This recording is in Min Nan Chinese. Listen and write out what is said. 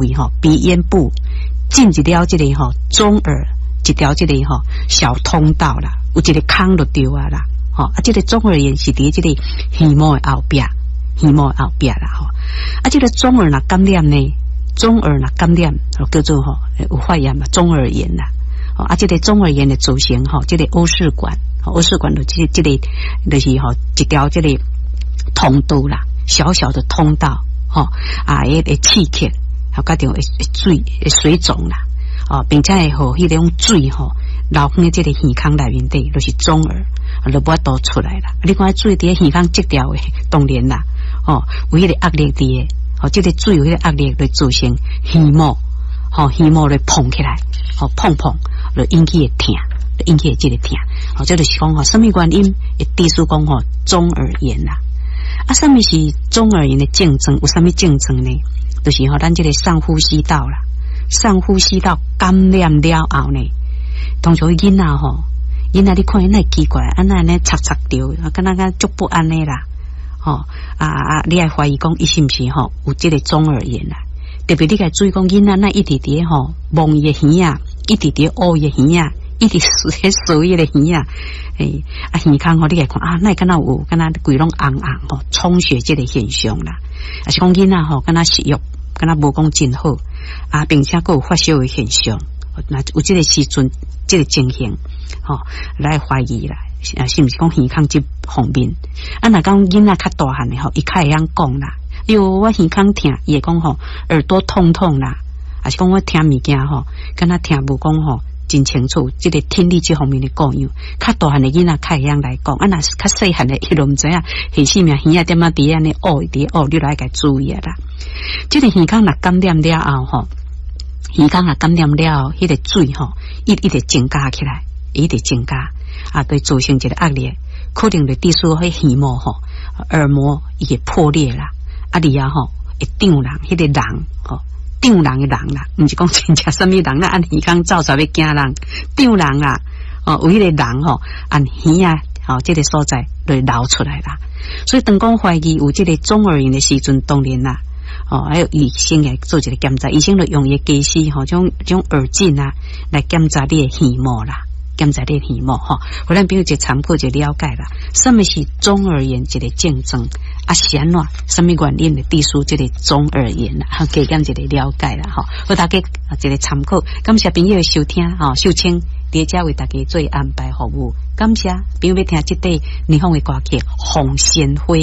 位吼，鼻咽部進入了這个吼中耳一條這個吼小通道啦，有一個孔就對啊啦，吼啊，這個中耳炎是佇這個耳膜的後壁，耳膜的後壁啦吼，啊，這個中耳若感染呢，中耳若感染，叫做吼有發炎嘛，中耳炎啦，啊，這個中耳炎的造成吼，這個烏氏管，烏氏管就這個就是吼一條這個通道啦，小小的通道，吼啊，會刺激，吼，佮著會水會水腫啦，哦，並且會予彼種水吼流佇這個耳孔內面底，就是中耳，就無法度出來啦。你看水佇耳孔積掉的，當然啦，哦，有彼個壓力佇的，哦，這個水有彼個壓力來造成耳膜，吼，耳膜來膨起來，吼，膨膨，就引起會疼，引起這個疼，吼，這就是講吼，啥物原因會致使講吼中耳炎啦？啊，啥物是中耳炎的症狀？有啥物症狀呢？就是吼，咱這個上呼吸道啦，上呼吸道感染了後呢，通常囡仔吼，囡仔你看伊哪會奇怪，啊哪按呢插插著，啊敢若敢足不安呢啦，吼啊啊！你愛懷疑講伊是毋是吼有這個中耳炎啦？特別你共注意講囡仔哪一直佇吼摸伊的耳仔，一直佇挖伊的耳仔，一直踅伊的耳仔，欸，啊耳孔吼，你共看啊，哪會敢若有，敢若規攏紅紅吼，充血這個現象啦。啊是講囡仔吼，敢若食欲，敢若無講真好，啊，並且閣有發燒的現象，若有這個時陣，這個情形，吼，來懷疑啦，啊，是毋是講耳孔這方面？啊，若講囡仔較大漢的吼，伊較會曉講啦。喲，我耳孔疼，伊會講吼，耳朵痛痛啦，啊是講我聽物件吼，敢若聽無講吼真清楚，這個聽力這方面的故障，較大漢的囡仔較會曉來講，啊，若是較細漢的，伊就毋知影，彼時耳仔點仔佇按呢挖，佇挖，你就愛共注意啦。這個耳孔若感染了後吼，耳孔若感染了後，彼個水吼，一一直增加起來，一直增加，啊，對造成一個壓力，可能就致使彼耳膜吼，耳膜伊會破裂啦，啊，而啊吼會脹人，彼個囊吼，脹人的囊啦，毋是講真正啥物人啦，按耳孔走出來欲驚人，脹人啦，哦，有彼個囊吼，按耳仔吼，這個所在就會流出來啦。所以當講懷疑有這個中耳炎的時陣，當然啦，哦，還有醫生來做一個檢查，醫生就用伊的機器吼，種耳鏡啊來檢查你的耳膜啦，檢查你的耳膜吼，予咱朋友一個參考一個了解啦。啥物是中耳炎一個症狀？啊是按怎？啥物原因會致使這個中耳炎啦？加減一個了解啦，吼，予大家一個參考。感謝朋友的收聽，吼，秀清佇遮為大家做安排服務。感謝朋友欲聽這塊霓虹的歌曲《紅鮮花》。